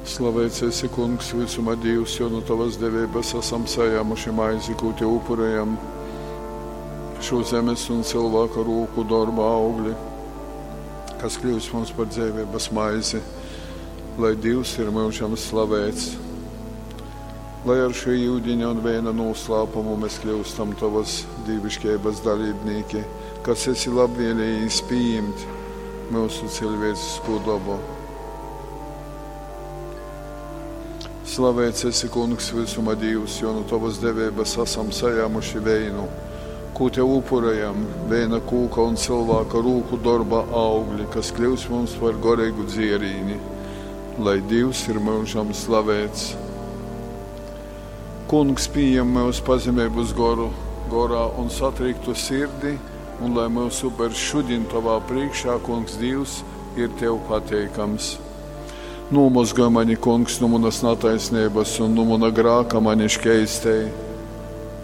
Slaveits esi, Kungs, vysuma Dīvs, jo nu tovas deveibas asam sajāmuši maizi, kū tev upurējam, šo zemes un cilvēka rūku dorba augli, kas kļūst mums par dzeiveibas maizi, lai Dīvs ir myužam slavēts. Lai ar šo yudiņa un veina noslēpumu mēs kļūstam tavas dīvišķības dalībnieki, kas esi labvēlējis pieņemt mūsu cilvēcisko dabu. Slavēts esi, Kungs, visuma Dīvs, jo no tavas deveibas esam sajāmuši veinu, ko tev upurējam, veina kūka un cilvēka rūku darba augļi, kas kļūs mums par gorīgu dzierīni, lai Dievs ir mūžam slavēts. Kungs pieņem mūsu pazemības goru, gorā un satriktu sirdi, un lai mūsu upers šodien tavā priekšā, Kungs Dievs, ir tev pateikams. Nomozgaj mani, kungs, no manas netaisnības un no mana grāka mani škeistēji.